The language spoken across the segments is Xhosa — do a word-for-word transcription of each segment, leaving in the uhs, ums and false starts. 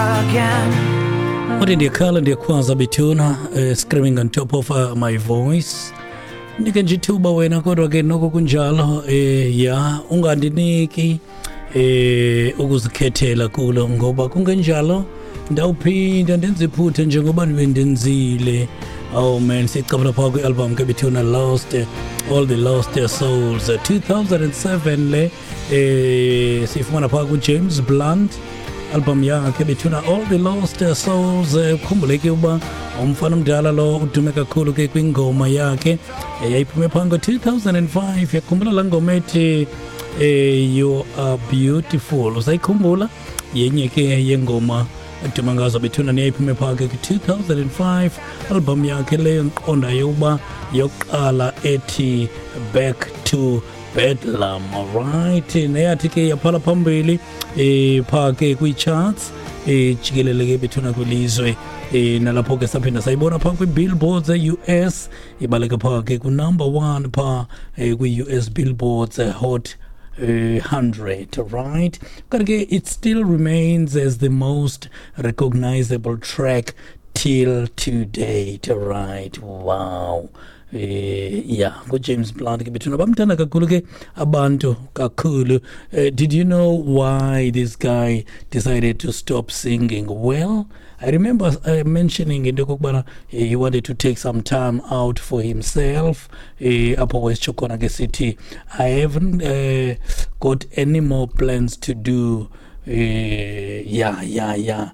again. Uthi ndiyakhala ndiyakhwaza bethuna, uh, screaming on top of uh, my voice. Ndike nje ithuba wena, kodwa ke noko kunjalo, eh ya ungandiniki eh ukuzikhethela kulo, ngoba kungenjalo ndawuphinda ndenze iphutha njengoba ndibendenzile. Oh man, sicabula phaa kwi-album ke bethuna, Lost, All the Lost Souls, two thousand seven le, eh sifumana phaa ku-James Blunt, album yakhe bethuna, All the Lost Souls. Khumbuleke uba umfana omdala lo udume kakhulu ke kwingoma yakhe yayiphume phaa ngo-two thousand five. Yakhumbula laa ngoma ethi eh You Are Beautiful, usayikhumbula? Yenye ke yengoma eduma ngazo bethuna, neyayiphume phaa ke ku-two thousand five, album yakhe leyo ndiqondayo uba yokuqala ethi Back to Bedlam. Alright, neyathi ke yaphala phambili eh phaa ke kwii-charts eh jikelele ke bethuna kwilizwe, eh nalapho ke saphinda sayibona phaa kwi-billboards e-U S, ibaleka phaa ke ku-number one phaa eh, kwi-U S Billboards Hot Uh, hundred, right? But it still remains as the most recognizable track till to date, right? Wow. Eh, yeah, go James Blunt ke bethuna, bamthanda kakhulu ke abantu kakhulu. Uh, did you know why this guy decided to stop singing? Well, I remember uh, mentioning into yokokubana he wanted to take some time out for himself. Eh, apho wesitsho khona ke sithi, I haven't uh, got any more plans to do. Uh, yeah, yeah, yeah.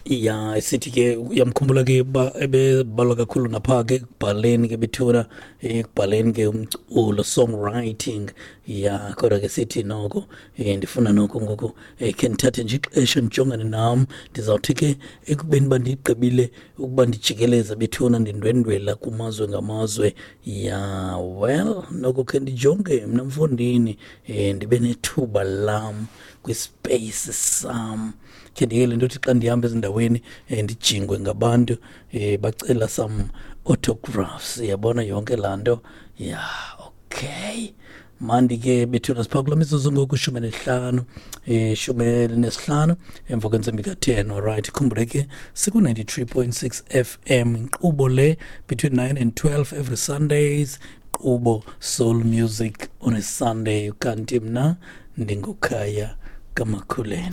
Ya sithi ke uyamkhumbula ke uba ebebalwa kakhulu napha ke ekubhaleni ke bethuna, ekubhaleni ke umculo, songwriting. Ya kodwa ke sithi noko eh, ndifuna noko ngoku eh, khe ndithathe nje ixesha ndijongane nam. Ndizawuthi ke ekubeni uba ndigqibile ukuba ndijikeleze bethuna, ndindwendwela kumazwe ngamazwe, ya well noko khe ndijonge mna mfondini, eh, ndibe nethuba lam kwispace sam. Khe ndiyeke le nto yothi xa ndihamba ezindaweni eh, ndijingwe ngabantu eh, bacela some autographs, yabona yonke laa nto. Ya okay, mandi ke bethuna, siphaa kula mizuzu ngoku shumi nesihlanu, eh, shumi elinesihlanu emva kwentsimbi ka-ten. Alright, khumbule ke siku-ninety-three point six F M, inkqubo le between nine and twelve every Sundays, inkqubo Soul Music on a Sunday. Kanti mna ndinguKhaya kaMakhuleni.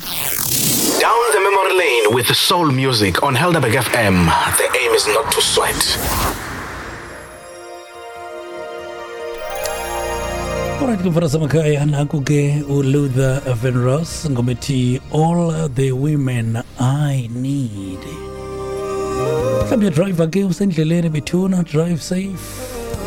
Down the memory lane with the soul music on Helderberg F M. The aim is not to sweat. Alright, kumfana samakhaya, nanku ke uLuther Vandross ngomethi All the Women I Need. Mhlawumbi uyadrayiva ke, usendleleni bethuna, drive safe.